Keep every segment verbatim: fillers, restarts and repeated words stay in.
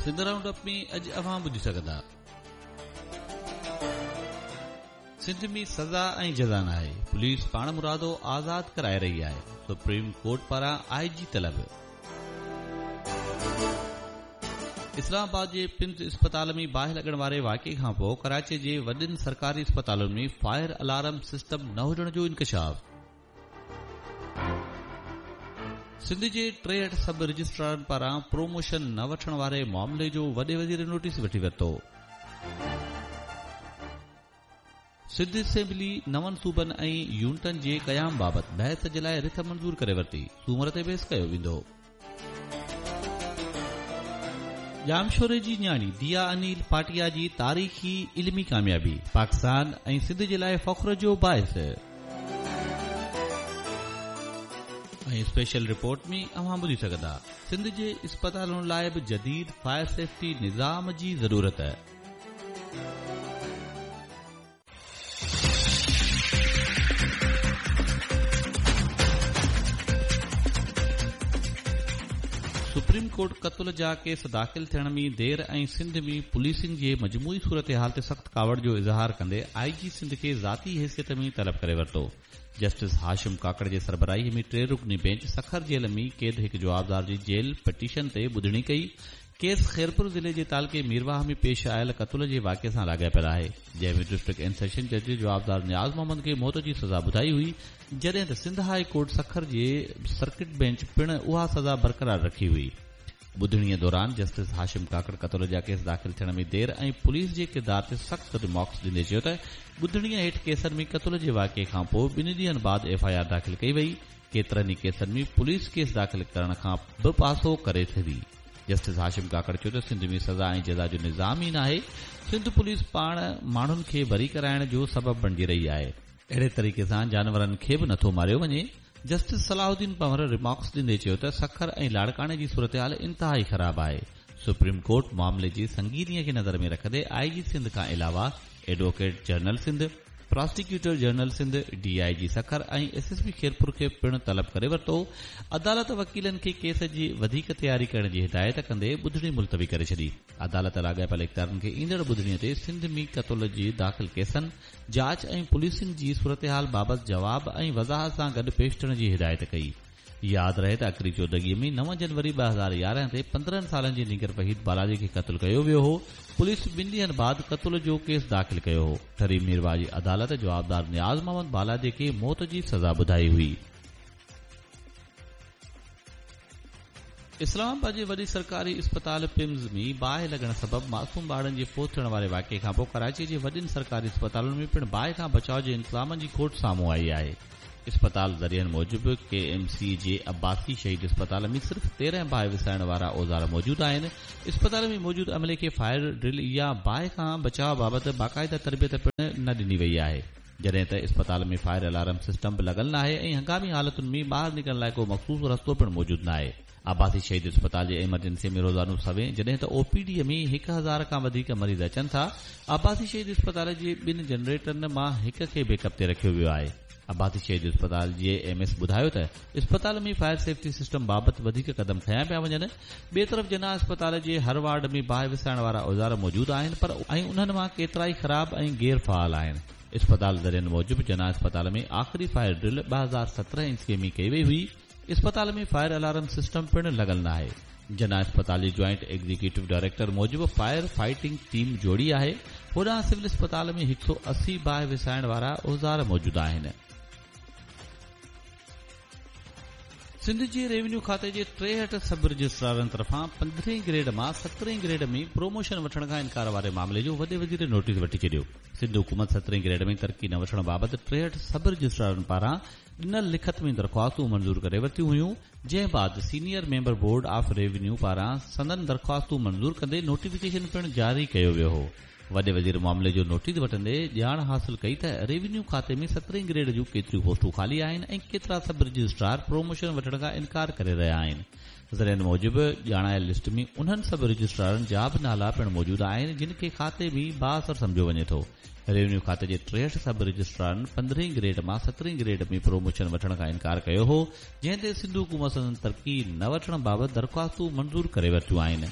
Sindh round up ۾ اڄ اوهان ٻڌي سگهندا. سنڌ ۾ سزا ۽ جزا ناهي، پوليس پاڻمرادو آزاد ڪرائي رهي آهي، سپريم ڪورٽ پاران آء جي طلب. اسلام آباد جي پمز اسپتال ۾ باهه لڳڻ واري واقعي کان پوء ڪراچي جي وڏن سرڪاري اسپتالن ۾ فائر الارم سسٽم نه هجڻ جو انڪشاف. سنڌ جي ٽيهٺ سب رجسٽرارن پاران پروموشن نه وٺڻ واري معاملي جو وڏي وزير نوٽيس وٺي ورتو. سنڌ اسيمبلي نون صوبن ۽ يونٽن جي قيام بابت بحث جي لاءِ رٿ منظور ڪري ورتي، سومر تي بحث ڪيو ويندو. ڄامشوري جي نياڻي ديا انيل پاٽيا جي تاريخي علمي ڪاميابي پاڪستان ۽ سنڌ جي لاءِ فخر جو باعث. ۽ اسپيشل رپورٽ ۾ اوهان ٻڌي سگهندا سنڌ جي اسپتالن لاءِ به جديد فائر سيفٽي نظام جي ضرورت. سپريم ڪورٽ قتل جا ڪيس داخل ٿيڻ ۾ دير ۽ سنڌ ۾ پوليسنگ جي مجموعي صورتحال تي سخت ڪاوڙ جو اظهار ڪندي آء جي سنڌ کي ذاتي حيثيت ۾ طلب ڪري ورتو. جسٽس هاشم ڪاڪڙ جي سربراهي ۾ ٽي رڪني بينچ سکر جيل ۾ قيد هڪ جوابدار جي جيل پٽيشن تي ٻڌڻي ڪئي. ڪيس خيرپور ضلعي جي تعلقي ميرواهه ۾ پيش آيل قتل جي واقعي سان لاڳاپيل آهي، جنهن ۾ ڊسٽرڪٽ اينڊ سيشن جج جوابدار نياز محمد کي موت جي سزا ٻڌائي هئي، جڏهن ته سنڌ هاء ڪورٽ سکر جي سرڪٽ بينچ پڻ اها سزا برقرار رکي هئي. ٻڌڻيءَ دوران جسٽس هاشم ڪاڪڙ قتل جا ڪيس داخل ٿيڻ ۾ دير ۽ پوليس جي ڪردار تي سخت ريمارڪس ڏيندي چيو ته ٻڌڻيءَ هيٺ ڪيسن ۾ قتل جي واقعي کان پوءِ ٻن ڏينهن بعد ايف I R داخل ڪئي وئي. ڪيترن ئي ڪيسن ۾ پوليس ڪيس داخل ڪرڻ کان به پاسو ڪري ٿي. جسٽس هاشم ڪاڪڙ چيو ته سنڌ ۾ سزا ۽ جزا جو نظام ئي ناهي، سنڌ پوليس پاڻ ماڻهن کي بري ڪرائڻ جو سبب بڻجي رهي آهي، اهڙي طريقي سان جانورن کي به نٿو ماريو وڃي. جسٽس صلاح الدين پنهور ريمارڪس ڏيندي چيو ته سکر ۽ لاڙڪاڻي جي صورتحال انتهائي خراب آهي. سپريم ڪورٽ معاملي جي سنگينيءَ کي نظر ۾ رکندي آء جي سنڌ کان علاوه advocate general Sindh, prosecutor general Sindh, D I G Sukkur ۽ S S P Khairpur کي پڻ طلب ڪري ورتو. عدالت وڪيلن کي ڪيس جي وڌيڪ تياري ڪرڻ جي هدايت ڪندي ٻڌڻي ملتوي ڪري ڇڏي. عدالت لاڳاپيل اختيارن کي ايندڙ ٻڌڻيءَ تي سنڌ ۾ قتل جي داخل ڪيسن، جاچ ۽ پوليسنگ جي صورتحال بابت جواب ۽ وضاحت سان گڏ پيش ٿيڻ جي هدايت ڪئي. ياد رهي ته اڪري چودڳيءَ ۾ نو جنوري ٻه هزار يارهن تي پندرهن سالن جي نينگر وحيد بالاجي کي قتل ڪيو ويو هو. پوليس ٻن ڏينهن بعد قتل جو ڪيس داخل ڪيو هو. ٺري ميرواهه جي عدالت جوابدار نياز محمد بالاجي کي موت جي سزا ٻڌائي هئي. اسلام آباد جي وڏي سرڪاري اسپتال پمز ۾ باهه لڳڻ سبب معصوم ٻارن جي فوت ٿيڻ واري واقعي کان پوءِ ڪراچي جي وڏن سرڪاري اسپتالن ۾ پڻ باهه کان بچاءُ جي انتظامن جي کوٽ سامهون آئي آهي. اسپتال ذريعن موجب ڪي ايم سي جي عباسي شهيد اسپتال ۾ صرف تيرهن باهه وسائڻ وارا اوزار موجود آهن. اسپتال ۾ موجود عملي کي فائر ڊرل يا باهه کان بچاءُ بابت باقاعده تربيت پڻ نه ڏني وئي آهي، جڏهن ته اسپتال ۾ فائر الارم سسٽم به لڳل ناهي ۽ هنگامي حالتن ۾ ٻاهر نڪرڻ لاءِ ڪو مخصوص رستو پڻ موجود ناهي. عباسي شهيد اسپتال جي ايمرجنسي ۾ روزانو سوين، جڏهن ته او پي ڊي ۾ هڪ هزار کان وڌيڪ مريض اچن ٿا. عباسي شهيد اسپتال جي ٻن جنريٽرن مان هڪ کي بيڪ اپ تي رکيو ويو آهي. عباسي شهيد اسپتال جي ايم ايس ٻڌايو ته اسپتال ۾ فائر سيفٽي سسٽم بابت وڌيڪ قدم کنيا پيا وڃن. ٻئي طرف جناح اسپتال جي هر وارڊ ۾ باهه وسائڻ وارا اوزار موجود آهن، پر ۽ انهن مان ڪيترائي خراب ۽ غير فعال آهن. اسپتال ذريعن موجب جناح اسپتال ۾ آخري فائر ڊرل ٻه هزار سترهن عيسويءَ ۾ ڪئي وئي هئي. اسپتال ۾ فائر الارم سسٽم پڻ لڳل ناهي. جناح اسپتال جي جوائنٽ ايگزيڪيوٽو ڊائريڪٽر موجب فائر فائٽنگ ٽيم جوڙي آهي. هوڏانهن سول اسپتال ۾ هڪ سؤ اسي باهه وسائڻ وارا اوزار موجود آهن. سنڌ جي ريونيو کاتي جي ٽيهٺ سب رجسٽرارن طرفان پندرهين گريڊ مان سترهين گريڊ ۾ پروموشن وٺڻ کان انڪار واري معاملي جو وڏي وزير نوٽيس وٺي ڇڏيو. سنڌ حڪومت سترهين گريڊ ۾ ترقي نه وٺڻ بابت ٽيهٺ سب رجسٽرارن پاران ڏنل لکت ۾ درخواستون منظور ڪري ورتيون هيون، جنهن بعد senior member board of revenue پاران سندن درخواستون منظور ڪندي نوٽيفڪيشن پڻ جاري ڪيو ويو هو. وڏي وزير معاملي جو نوٽيس وٺندي ڄاڻ حاصل ڪئي ته ريونيو کاتي ۾ سترهين گريڊ جون ڪيتريون پوسٽون خالي آهن ۽ ڪيترا سب رجسٽرار پروموشن وٺڻ کان انڪار ڪري رهيا آهن. ذريعن موجب ڄاڻايل لسٽ ۾ انهن سب رجسٽرارن جا به نالا پڻ موجود آهن جن کي کاتي ۾ بااثر سمجهيو وڃي ٿو. ريونيو کاتي جي ٽيهٺ سب رجسٽرارن پندرهين گريڊ مان سترهين گريڊ ۾ پروموشن وٺڻ کان انڪار ڪيو هو، جنهن تي سنڌ حڪومت سندن ترقي نه وٺڻ بابت درخواستون منظور ڪري ورتيون آهن.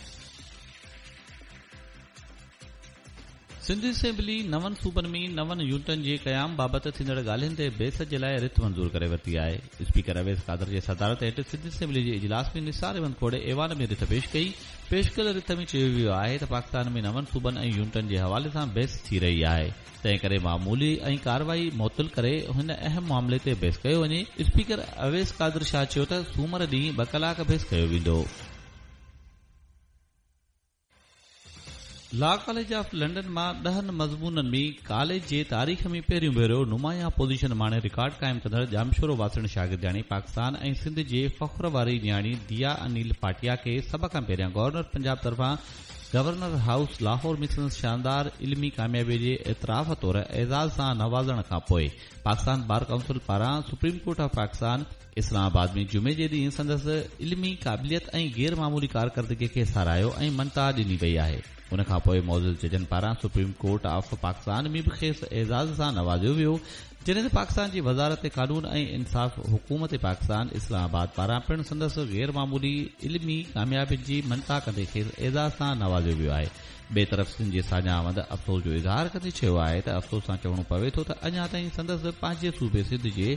سنڌ اسيمبلي نون صوبن ۾ نون يونٽن جي قيام بابت ٿيندڙ ڳالهين تي بحث جي لاءِ رٿ منظور ڪري ورتي آهي. اسپيڪر اويس قادر جي صدارت هيٺ سنڌ اسيمبلي جي اجلاس ۾ نثار احمد کوڙي ايوان ۾ رٿ پيش ڪئي. پيش ڪيل رٿ ۾ چيو ويو آهي ته پاڪستان ۾ نون صوبن ۽ يونٽن جي حوالي سان بحث ٿي رهي آهي، تنهن ڪري معمولي ۽ ڪارروائي معطل ڪري هن اهم معاملي تي بحث ڪيو وڃي. اسپيڪر اويس قادر شاهه چيو ته سومر ڏينهن ٻه ڪلاڪ بحث ڪيو ويندو. لا ڪاليج آف لنڊن مان ڏهن مضمونن ۾ ڪاليج جي تاريخ ۾ پهريون ڀيرو نمايان پوزيشن ماڻي رڪارڊ قائم ڪندڙ ڄامشورو واسڻ شاگردياڻي پاڪستان ۽ سنڌ جي فخر واري نياڻي ديا انيل پاٽيا کي سڀ کان پهريان گورنر پنجاب طرفان گورنر هائوس لاهور ۾ سندس شاندار علمي ڪاميابي جي اعتراف طور اعزاز سان نوازڻ کان پوءِ پاڪستان بار ڪائونسل پاران سپريم ڪورٽ آف پاڪستان اسلام آباد ۾ جمعي جي ڏينهن سندس علمي قابليت ۽ غير معمولي ڪارڪردگي کي ساراهيو ۽ مڃتا ڏني وئي آهي. ان کان پوءِ معزز ججن پاران سپريم ڪورٽ آف پاڪستان ۾ به کيس اعزاز سان نوازيو ويو، جڏهن ته پاڪستان جي وزارت قانون ۽ انصاف حڪومت پاڪستان اسلام آباد پاران پڻ سندس غير معمولي علمي ڪاميابين جي مڃتا ڪندي کيس اعزاز سان نوازيو ويو آهي. ٻئي طرف سنڌ جي ساڃاهه وند افسوس جو اظهار ڪندي چيو آهي ته افسوس سان چوڻو پوي ٿو ته اڃا تائين سندس پنهنجي صوبي سنڌ جي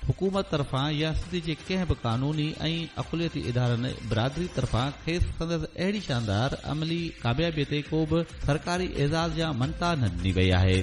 حڪومت طرفان يا سنڌ جي ڪنهن به قانوني ۽ اقليتي ادارن برادري طرفان کيس سندس اهڙي شاندار عملي ڪاميابي تي ڪو به سرڪاري اعزاز يا مڃتا نه ڏني وئي آهي.